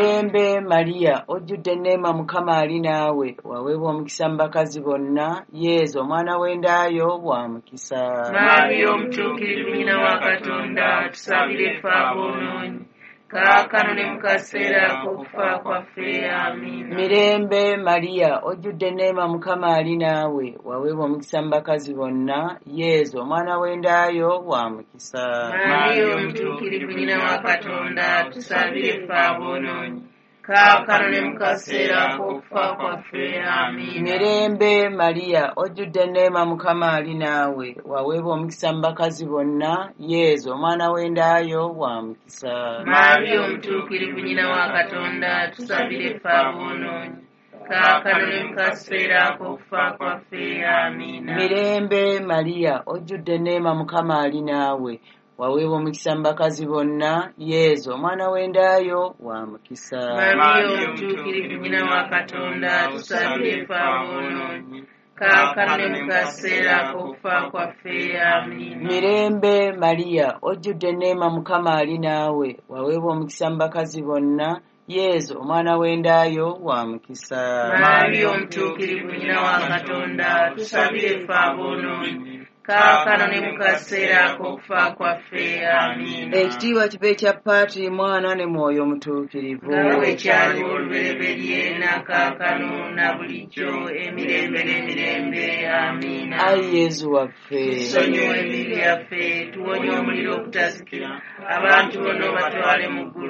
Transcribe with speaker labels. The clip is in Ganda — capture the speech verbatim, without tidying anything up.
Speaker 1: Mirembe Mariya, ojjudde enneema, Mukama ali naawe, waweebwa omukisa mu bakazi bonna, Yezu omwana w'endaayo wa mukisa.
Speaker 2: Mariya omutuukirivu nnyina wa Katonda, tusabire ffe aboonoonyi, kaakano ne mu kaseera ak'okufa kwaffe. Amiina.
Speaker 1: Mirembe Mariya, ojjudde enneema, Mukama ali naawe, waweebwa omukisa mu bakazi bonna, Yezu omwana w'endaayo wa mukisa.
Speaker 2: Mariya omutuukirivu nnyina wa Katonda, tusabire ffe aboonoonyi, kaakano ne mu kaseera ak'okufa kwaffe. Amiina.
Speaker 1: Mirembe Mariya, ojjudde enneema, Mukama ali naawe, waweebwa omukisa mu bakazi bonna, Yezu omwana w'endaayo wa mukisa.
Speaker 2: Mariya omutuukirivu nnyina wa Katonda, tusabire ffe aboonoonyi, kaakano ne mu kaseera ak'okufa kwaffe. Amiina.
Speaker 1: Mirembe Mariya, ojjudde enneema, Mukama ali naawe, waweebwa omukisa mu bakazi bonna, Yezu omwana w'endaayo wa mukisa.
Speaker 2: Mariya omutuukirivu nnyina wa Katonda, tusabire ffe aboonoonyi, kaakano ne mu kaseera ak'okufa kwaffe. Amiina.
Speaker 1: Mirembe Mariya, ojjudde enneema, Mukama ali naawe, waweebwa omukisa mu bakazi bonna, Yezu omwana w'endaayo wa mukisa.
Speaker 2: Mariya omutuukirivu nnyina wa Katonda, tusabire ffe aboonoonyi, kaakano ne mu kaseera ak'okufa kwaffe. Amiina.
Speaker 1: Ekitiibwa kibe ekya Paatiri, Mwana ne Mwoyo Mutuukirivu.
Speaker 2: Nga bwe kyaliwo olubereberye, na kaakano na bulijjo, emirembe n'emirembe. Amiina.
Speaker 1: Ayi Yezu waffe,
Speaker 2: tusonyiwe ebibi byaffe, tuwonye omuliro ogutazikira, abantu bonna obatwale mu ggulu.